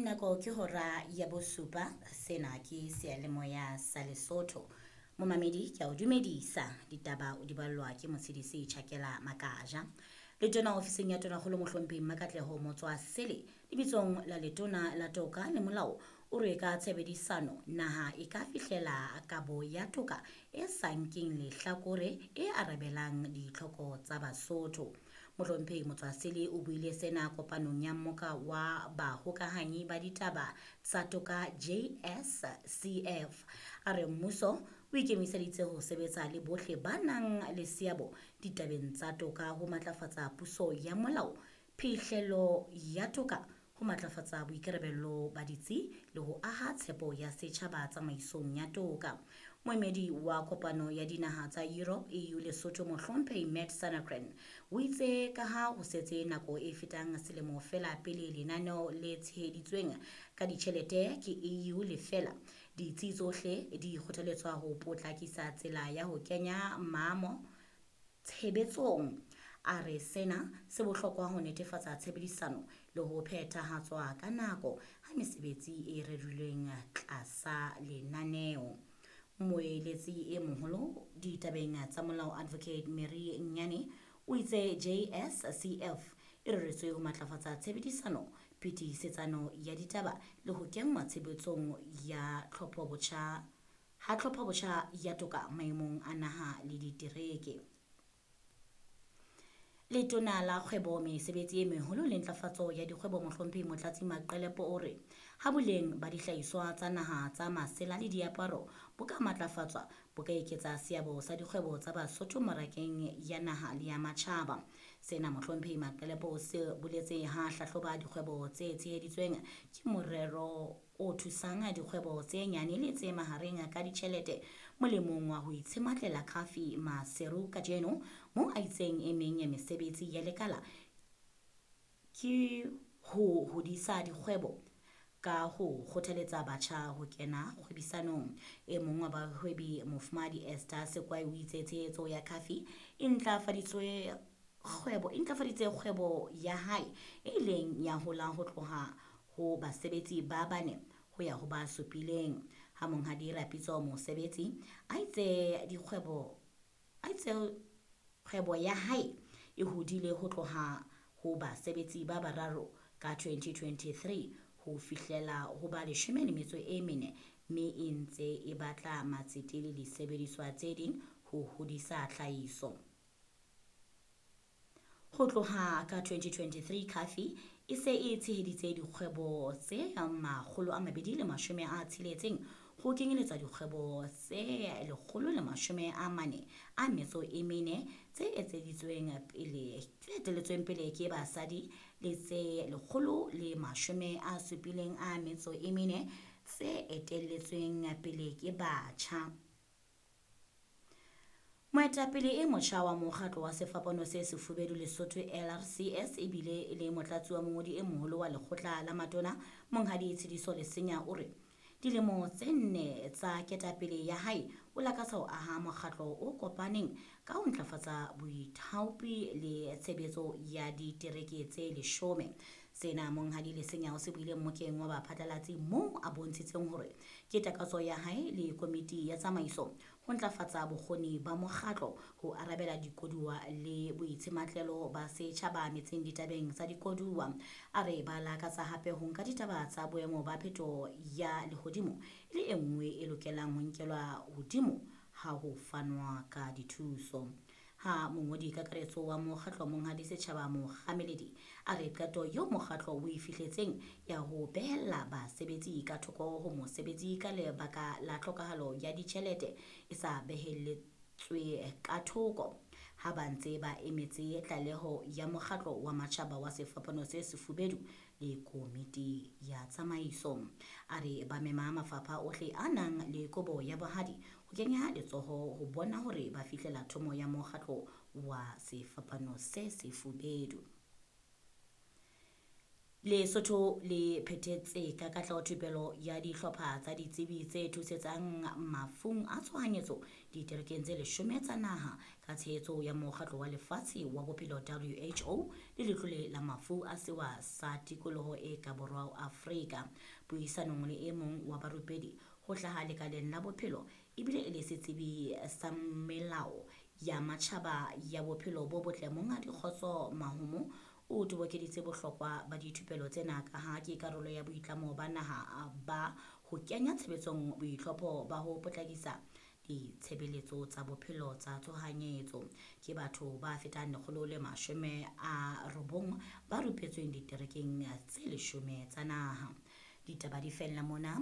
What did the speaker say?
Nako ke hora ya bosupa, sena ke seyalemoya sa Lesotho. Momamedi ke a o dumedisa, ditaba o di ballwa ke Motshedisi Tjhakela Makaja. Letona ofising ya Tonakgolo Mohlomphehi Mmakatleho Motswasele lebitsong la Letona la Toka le Molao o re ka tshebedisano naha e ka fihlela kabo ya toka e sa nkeng lehlakore e arabelang ditlhoko tsa Basotho. Mohlomphehi Motswasele o buile sena kopanong ya mmoka wa bahokahanyi ba ditaba tsa toka JSCF. A re mmuso o ikemiseditse ho sebetsa le bohle ba nang le seabo ditabeng tsa toka ho matlafatsa puso ya molao, phihlelo ya toka, ho matlafatsa boikarabello ba ditsi le ho aha tshepo ya setjhaba tsamaisong ya toka. Moemedi wa kopano ya dinaha tsa Europe EU Lesotho Mohlomphehi Matt Sanagren o itse ka ha ho setse nako e fetang selemo feela pele lenaneo le tsheheditsweng ka ditjhelete ke EU le fela, ditsi tsohle di kgothaletswa ho potlakisa tsela ya ho kenya maamo tshebetsong. A re sena se bohlokwa ho netefatsa tshebedisano le ho phethahatswa ka nako ha mesebetsi e rerilweng tlasa lenaneo. Moeletsi e moholo ditabeng tsa molao Advocate Mary Nyane o itse JSCF e reretswe ho matlafatsa tshebedisano, phetisetsano ya ditaba le ho kenngwa tshebetsong ya tlhophobotjha ha tlhophobotjha ya toka maemong a naha le ditereke. Letona la kgwebo, mesebetsi e meholo le ntlafatso ya dikgwebo Mohlomphehi Motlatsi Maqelepo o re ha boleng ba dihlahiswa tsa naha tsa masela le diaparo bo ka matlafatswa, bo ka eketsa seabo sa dikgwebo tsa Basotho mmarakeng ya naha le ya matjhaba. Sena Mohlomphehi Maqelepo o se boletse ha hlahloba dikgwebo tse tsheheditsweng ke morero o thusang dikgwebo tse nyane le tse mahareng ka ditjhelete molemong wa ho itshematlela Khafi Maseru kajeno, moo a itseng e meng ya mesebetsi ya lekala ke ho hodisa dikgwebo ka ho kgothaletsa batjha ho kena kgwebisanong. E mong wa bahwebi Mofumahadi Esther Sekwai o itse tshehetso ya Khafi e ntlafaditswe kgwebo e ntlafaditse kgwebo ya hae e ileng ya hola ho tloha ho basebetsi ba bane ho ya ho ba supileng. Ha monghadi Rapitso Mosebetsi a itse dikgwebo a itse kgwebo ya hae e hodile ho tloha ho basebetsi ba bararo ka 2023 ho fihlela ho ba 14, mme e ntse e batla matsete le disebediswa tse ding ho hodisa tlhahiso. Ho tloha ka 2023 Khafi e se e tsheheditse dikgwebo tse 260 ho kenyeletswa dikgwebo tse 144 tse etseditsweng pele tse etelletsweng pele ke basadi le tse 174 tse etelletsweng pele ke batjha. Moetapele e motjha wa mokgatlo wa Sefapano se Sefubedu Lesotho LRCS ebile e le motlatsi wa mongodi e moholo wa lekgotla la matona Monghadi Tshidiso Lesenya o re dilemo tse 4 tsa ketapele ya hae o lakatsa ho aha mokgatlo o kopaneng ka ho ntlafatsa boithaopi le tshebetso ya ditereke tse 10. Sena Monghadi Lesenya o se buile mmokeng wa baphatlalatsi moo a bontshitseng hore ke takatso ya hae le komiti ya tsamaiso ho ntlafatsa bokgoni ba mokgatlo ho arabela dikoduwa le boitshematlelo ba setjhaba metseng ditabeng tsa dikoduwa. A re ba lakatsa hape ho nka ditaba tsa boemo ba phetoho ya lehodimo e le e nngwe e lokelang ho nkelwa hodimo ha ho fanwa ka dithuso. Ha mongodi kakaretso wa mokgatlo Monghadi Setjhaba Mokgameledi a re qeto eo mokgatlo o e fihletseng ya ho behella basebetsi ka thoko ho mosebetsi ka lebaka la tlhokahalo ya ditjhelete e sa behelletswe ka thoko ha ba ntse ba emetse tlaleho ya mokgatlo wa matjhaba wa Sefapano se Sefubedu le komiti ya tsamaiso. A re ba mema mafapha ohle a nang le kobo ya bohadi ho kenya letsoho ho bona hore ba fihlela thomo ya mokgatlo wa Sefapano se Sefubedu. Lesotho le phethetse ka katleho thupelo ya dihlopha tsa ditsebi tse thusetsang mafung a tshohanyetso diterekeng tse 10 tsa naha ka tshehetso ya Mokgatlo wa Lefatshe wa Bophelo WHO le Letlole la Mafu a Sewa sa Tikoloho e ka Borwa ho Afrika. Puisanong le e mong wa barupedi ho hlaha lekaleng la bophelo ebile e le setsebi sa melao ya matjhaba ya bophelo bo botle Monghadi Kgotso Mahumo o tobokeditse bohlokwa ba dithupelo tsena ka ha ke karolo ya boitlamo ba naha ba ho kenya tshebetsong boitlhopho ba ho potlakisa ditshebeletso tsa bophelo tsa tshohanyetso. Ke batho ba fetang 190 ba rupetsweng diterekeng tse 10 tsa naha. Ditaba di fella mona.